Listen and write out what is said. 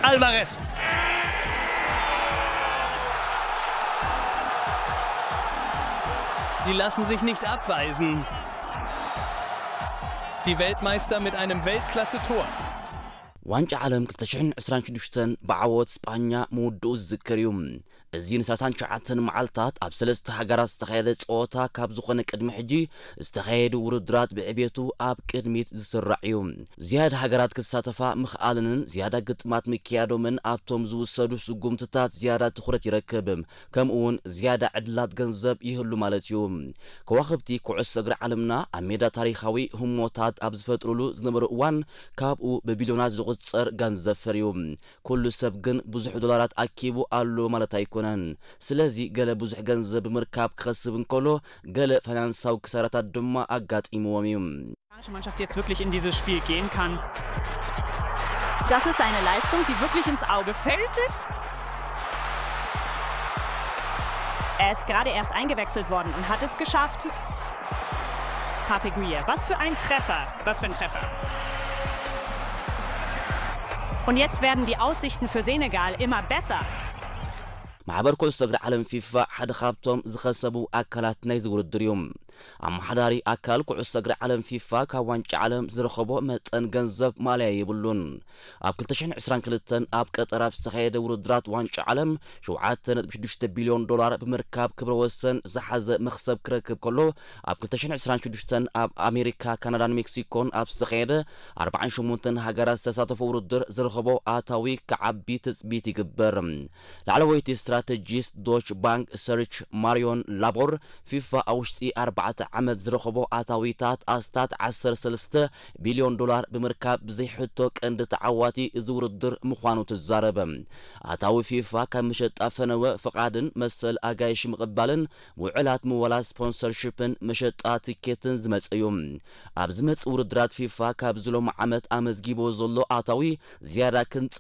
Alvarez. Die lassen sich nicht abweisen. Die Weltmeister mit einem Weltklasse-Tor. ዋንጫ ዓለም ክልተ ሽሕን ዕስራን ሽዱሽተን ብዓወት ስጳኛ ምውድኡ ዝዝከር እዩ። እዚ ን ሰላሳን ትሽዓተን መዓልታት ኣብ ሰለስተ ሃገራት ዝተኻየደ ጸወታ ካብ ዝኾነ ቅድሚ ሕጂ ዝተኻየዱ ውድድራት ብዕቤቱ ኣብ ቅድሚት ዝስራዕ እዩ። ዝያዳ ሃገራት ክሳተፋ ምኽኣለንን ዝያዳ ግጥማት ምክያዶምን ኣብቶም ዝውሰዱ ስጉምትታት ዝያዳ ትኹረት ይረክብ። ከምኡ እውን ዝያዳ ዕድላት ገንዘብ ይህሉ ማለት እዩ። ከዋኽብቲ ኩዕሶ እግሪ ዓለምና ኣብ ሜዳ ታሪኻዊ ህሞታት ኣብ ዝፈጥሩሉ ዝነበሩ እዋን ካብኡ ብቢልዮናት ዝቑጸር ገንዘብ ፈርዩ። ኩሉ ሰብ ግን ብዙሕ ዶላራት ኣኪቡ ኣሎ ማለት ኣይኮነን። ስለዚ ገለ ብዙሕ ገንዘብ ብምርካብ ክኸስብ እንከሎ ገለ ፋይናንሳዊ ክሳራታት ድማ ኣጋጢምዎም እዩ። Die Mannschaft jetzt wirklich in dieses Spiel gehen kann. Das ist eine Leistung, die wirklich ins Auge fällt. Er ist gerade erst eingewechselt worden und hat es geschafft. Pape Gueye, was für ein Treffer. Was für ein Treffer. Und jetzt werden die Aussichten für Senegal immer besser. ማሕበር ኩዕሶ እግሪ ዓለም ፊፋ ሓደ ካብቶም ዝኸሰቡ ኣካላት ናይዚ ውድድር እዩ። ኣመሓዳሪ ኣካል ኩዕሶ እግሪ ዓለም ፊፋ ካብ ዋንጫ ዓለም ዝረኸቦ መጠን ገንዘብ ማለያ የብሉን። ኣብ ክልተ ሽሕን ዕስራን ክልተን ኣብ ቀጠር ኣብ ዝተኻየደ ውድድራት ዋንጫ ዓለም ሸውዓተ ነጥቢ ሽዱሽተ ቢልዮን ዶላር ብምርካብ ክብረ ወሰን ዝሓዘ መኽሰብ ክረክብ ከሎ፣ ኣብ ክልተ ሽሕን ዕስራን ሽዱሽተን ኣብ ኣሜሪካ፣ ካናዳን ሜክሲኮን ኣብ ዝተኻየደ ኣርባዓን ሸሞንተን ሃገራት ዝተሳተፎ ውድድር ዝረኸቦ ኣታዊ ክዓቢ ትጽቢት ይግበር። ላዕለወይቲ ስትራተጂስት ዶች ባንክ ሰርች ማሪዮን ላቦር፣ ፊፋ ኣብ ውሽጢ ኣርባዕተ ዓመት ዝረኸቦ ኣታዊታት ኣስታት ዓሰርተ ሰለስተ ቢልዮን ዶላር ብምርካብ ብዘይሕቶ ቀንዲ ተዓዋቲ እዚ ውድድር ምዃኑ ትዛረብ። ኣታዊ ፊፋ ካብ መሸጣ ፈነወ፣ ፍቓድን መሰል ኣጋይሽ ምቕባልን ውዕላት ምወላ ስፖንሰርሺፕን መሸጣ ትኬትን ዝመጽእ እዩ። ኣብ ዝመጽእ ውድድራት ፊፋ ካብዚ ሎሚ ዓመት ኣመዝጊቦ ዘሎ ኣታዊ ዝያዳ ክንጸ